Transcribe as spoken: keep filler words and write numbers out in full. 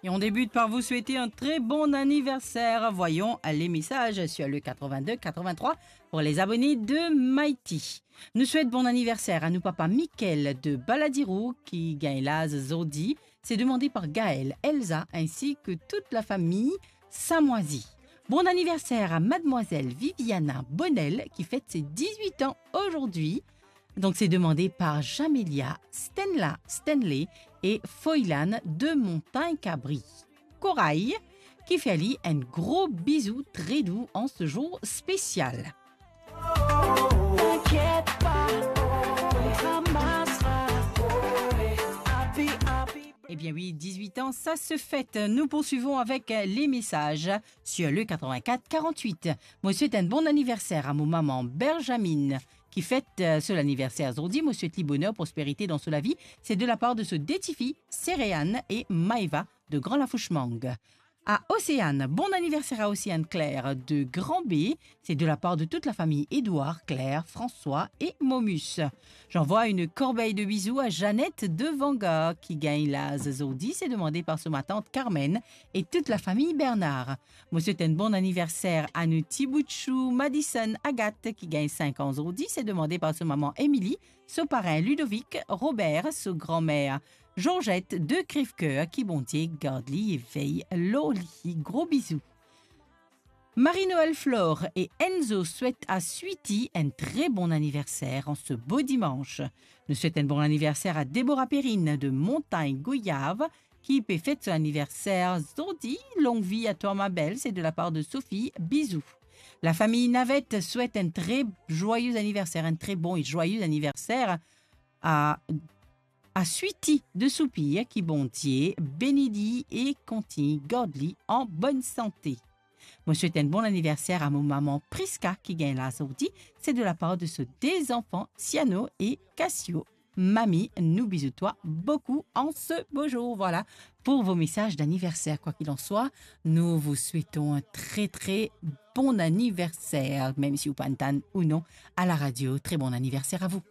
Et on débute par vous souhaiter un très bon anniversaire. Voyons les messages sur le quatre-vingt-deux quatre-vingt-trois pour les abonnés de Mighty. Nou swet bon aniverser a nou papa Michael de Baladiro ki gagn laz zordi. C'est demandé par Gaël, Elsa ainsi que toute la famille Samwazi. Bon anniversaire à mademoiselle Viviana Bonnel qui fête ses dix-huit ans aujourd'hui. Donc c'est demandé par Jamelia, Stenla, Stanley et Foylan de Montagne Cabri. Corail, qui fait à lui un gros bisou très doux en ce jour spécial. T'inquiète pas, on ramassera. Happy, happy. Eh bien oui, dix-huit ans, ça se fête. Nous poursuivons avec, euh, les messages sur le quatre-vingt-quatre quarante-huit. Mo swet enn bon aniverser a mo mama Benjamine, ki fet, euh, so laniverser zordi. Mo swet li boner, prosperite dan so lavi. C'est de la part de so de tifi, Sereane et Maeva de Grand Lafouchemang. À Océane, bon anniversaire à Océane Claire de Grand B. C'est de la part de toute la famille Édouard, Claire, François et Momus. J'envoie une corbeille de bisous à Jeannette de Vangar qui gagne laz zordi. C'est demandé par so matante Carmen et toute la famille Bernard. Mo swet enn bon aniverser a nou ti bout chou Madison Agathe ki gagn sink an zordi. C'est demandé par so mama Émilie, so parin Ludovic, Robert, so granmer Georgette de Crèvecoeur, ki Bondie gard li e vey lor li. Gro bizou. Marie-Noël Flore et Enzo swet a Sweetie enn tre bon aniverser an se bo dimanch. Nou swet enn bon aniverser a Déborah Perrine de Montagne Goyave, ki pe fet so aniverser zordi. Longue vie à toi, ma belle, c'est de la part de Sophie. Bisous. La famille Navette swet enn tre joyeux anniversaire, enn tre bon e joyeux anniversaire a, a Sweetie de Soupir, ki Bondie beni li e kontign gard li an bonn sante. Mo swet enn bon aniverser a mo mama Prisca ki gagn laz zordi. C'est de la part de so de zanfan, Siano e Cassio. Mami, nous bisous toi beaucoup en ce beau jour. Voilà pour vos messages d'anniversaire. Quoi qu'il en soit, nous vous souhaitons un très, très bon anniversaire, même si ou pa'nn tann ou non à la radio. Très bon anniversaire à vous.